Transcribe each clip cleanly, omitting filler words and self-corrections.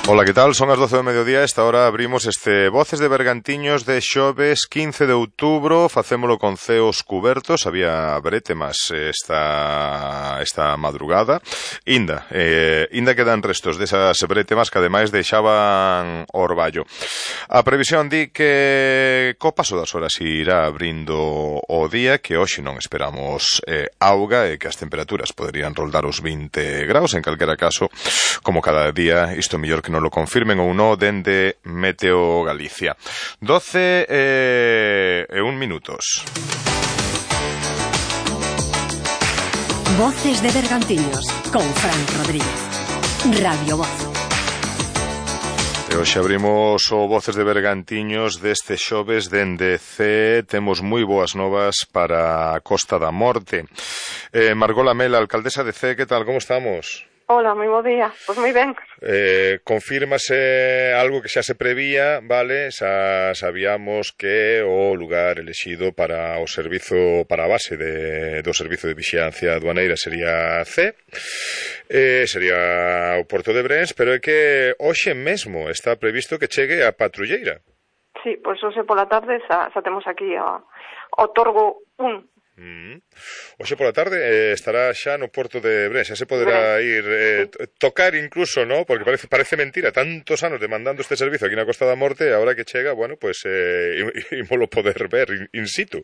Ola, que tal? Son as 12 do mediodía. Esta hora abrimos este Voces de Bergantiños de xoves 15 de outubro. Facémolo con ceos cubertos. Había bretemas esta madrugada. Inda quedan restos desas bretemas que ademais deixaban orballo. A previsión di que co paso das horas irá abrindo o día, que hoxe non esperamos auga e que as temperaturas poderían roldar os 20 graus. En calquera caso, como cada día, isto mellor que non lo confirmen ou non dende Meteo Galicia. 12 e 1 minutos. Voces de Bergantiños con Fran Rodríguez. Radio Voz. E hoxe abrimos o Voces de Bergantiños deste xoves dende C. Temos moi boas novas para a Costa da Morte. Margot Lamela, alcaldesa de C, que tal, como estamos? Hola, moi bo día. Pois moi ben. Confírmase algo que xa se prevía, vale? Xa sabíamos que o lugar elexido para o servizo, para a base do servizo de vixilancia aduaneira sería C, sería o Porto de Brens, pero é que hoxe mesmo está previsto que chegue a patrulleira. Sí, pois hoxe pola tarde xa temos aquí o Torgo 1. Hoxe pola tarde estará xa no Porto de Brens. Xa se poderá ir tocar incluso, ¿no? Porque parece mentira, tantos anos demandando este servizo aquí na Costa da Morte, e agora que chega, bueno, pues ímolo poder ver in situ.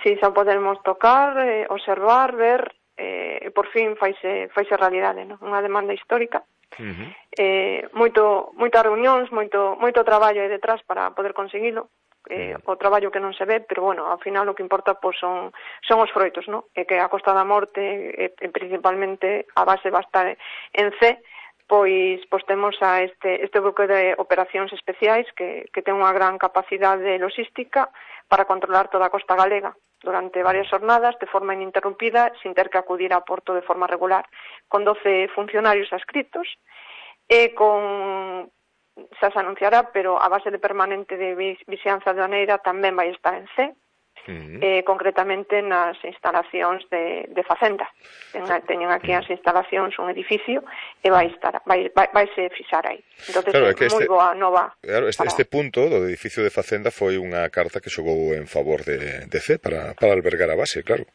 Sí, xa podemos tocar, observar, ver, e por fin faise realidade, ¿no? Unha demanda histórica. Moitas reunións, moito traballo aí detrás para poder conseguilo. O traballo que non se ve, pero bueno, ao final o que importa pois son os froitos, ¿no? E que a Costa da Morte, principalmente a base va a estar en C, pois temos a este bloque de operacións especiais que ten unha gran capacidade logística para controlar toda a costa galega durante varias jornadas de forma ininterrumpida, sin ter que acudir a Porto de forma regular, con 12 funcionarios adscritos e con... xa se anunciará, pero a base de permanente de vixilancia aduaneira tamén vai estar en C, concretamente nas instalacións de Facenda. Teñen aquí as instalacións, un edificio, e vaise fixar aí. Entón, claro, é moi boa nova. Claro, este punto do edificio de Facenda foi unha carta que xogou en favor de C para albergar a base, claro.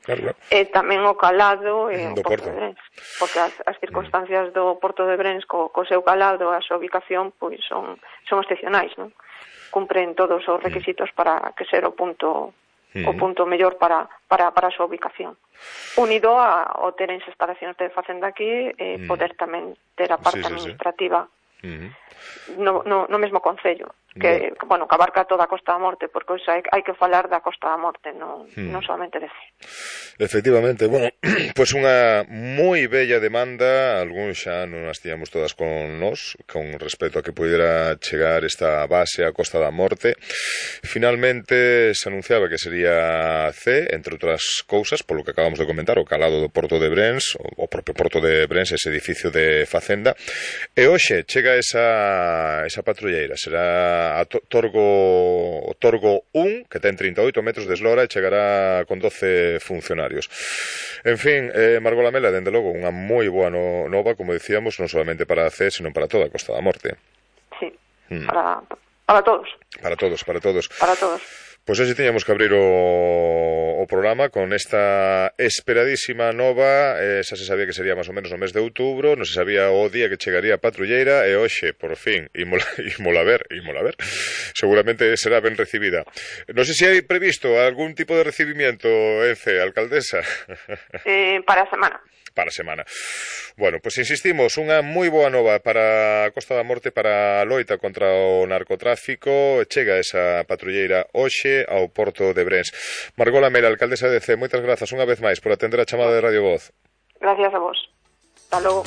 E tamén o calado e o Porto de Brens, porque as circunstancias do Porto de Brens co seu calado, a súa ubicación, pois son excepcionais, non? Cumpren todos os requisitos para que ser o punto mellor para a súa ubicación. Unido ao ter as instalacións de Facenda aquí, poder tamén ter a parte administrativa no mesmo concello, que abarca toda a Costa da Morte, porque hoxe hai que falar da Costa da Morte, non solamente de C. Efectivamente, bueno, pois unha moi bella demanda, algúns xa non as tiñamos todas con nós, con respecto a que pudera chegar esta base a Costa da Morte. Finalmente se anunciaba que sería C, entre outras cousas, polo que acabamos de comentar, o calado do Porto de Brens, o propio Porto de Brens, ese edificio de Facenda, e hoxe chega esa patrulleira, será a Torgo 1, que ten 38 metros de eslora e chegará con 12 funcionarios. En fin, Margot Lamela, dende logo, unha moi boa nova, como dicíamos, non solamente para a C, sino para toda a Costa da Morte. Sí, para todos. Para todos. Pois hoxe tiñamos que abrir o programa con esta esperadísima nova. Xa se sabía que sería máis ou menos no mes de outubro, non se sabía o día que chegaría a patrulleira, e hoxe, por fin, ímola ver. Seguramente será ben recibida. Non sei se hai previsto algún tipo de recibimiento, alcaldesa. Para a semana. Para a semana. Bueno, pois insistimos, unha moi boa nova para a Costa da Morte, para a loita contra o narcotráfico. Chega esa patrulleira hoxe ao Porto de Brens. Margot Lamela, alcaldesa de C, moitas grazas unha vez máis por atender a chamada de Radio Voz. Gracias a vos. Hasta logo.